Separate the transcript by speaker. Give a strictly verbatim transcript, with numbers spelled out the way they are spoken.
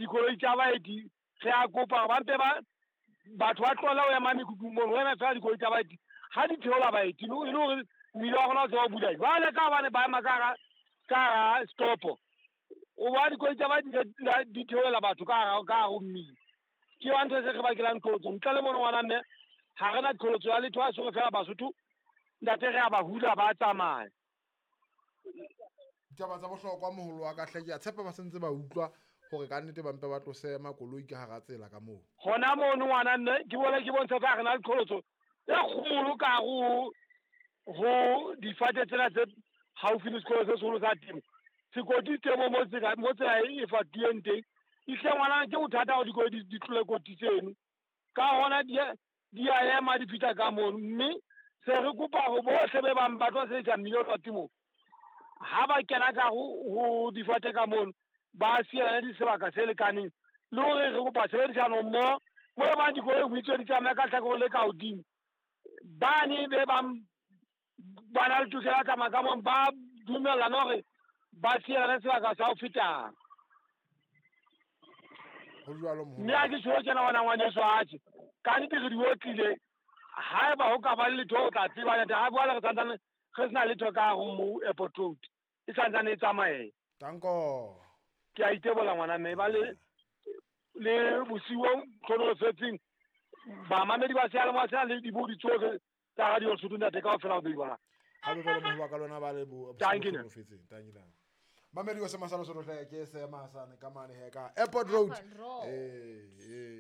Speaker 1: Dikoloi tsa baeti re a kopa ba mpe ba batho ba tlohela ho ema mekhukhung mono, ho eme fela dikoloi tsa baeti ha di theola baeti e le hore mmila wa rona o tseba ho bula. Jwale ka hobane ba ema ka hara ka hara stopo, o bona dikoloi tsa baeti di theolela batho ka hara ka hare ho mmila. Ke yona ntho e se re bakelang qholotso. Ntle le mono ngwana mme ha re na qholotso ya letho, ha se re fela Basotho ntate re a ba hula ba tsamaya.
Speaker 2: Ditaba tsa bohlokwa moholo wa ka hle, ke a tshepa ba sentse ba utlwa hore ka nnete ba mpe ba tlose makoloi ka hara tsela ka moo.
Speaker 1: Hona mono ngwana mme ke bone ke bontsha fa re na le qholotso e kgolo ka hare ho difate tsena tse haufi le sekolo se seholo sa temo. Sekoti temo mo tsela mo tsela e fatuweng teng. Ehlile ngwana ke bothata hore dikoloi di di tlole koti tseno. Ka hona di di a ema di fihla ka mono, mme se re kopa hore bohle be bang ba tlo sebedisa mmila wa temo ha ba kena ka ho ho difate ka mono ba sielane di sebaka se lekaneng, le hore re kopa tshebedisano mmoho mo e bang dikoloi ho itswe di tsamaya ka hlakoreng le ka hodimo. Bane be bang ba na le tokelo ya tsamaya ka mono, ba dumellana hore ba sielane sebaka sa ho feta.
Speaker 2: Ho jwalo moholo.
Speaker 1: Mme ha ke tjho tjena ngwana ngwaneso, atjhe ka nnete re di otlile. Haeba ho ka ba le letho o tla tseba ntate, ha jwale re santsane re sena letho ka hare ho mo airport road, e santsane e tsamaea.
Speaker 2: Danko.
Speaker 1: Ke a itebola ngwana mme ba le le bosiu bo hlohonolofetseng bamamedi ba seyalemoya sena le dibodi tsohle tsa Radio Lesotho ntate kaofela ho beiwa.
Speaker 2: Ha be jwalo moholo wa ka lona ba le bo
Speaker 1: Thank you.
Speaker 2: hlohonolofetseng. Thank you. Mamedi wa Sema sa Lesotho hle, ke Sema sane ka mane he ka Airport Road.
Speaker 3: Airport Road.
Speaker 2: Eh eh.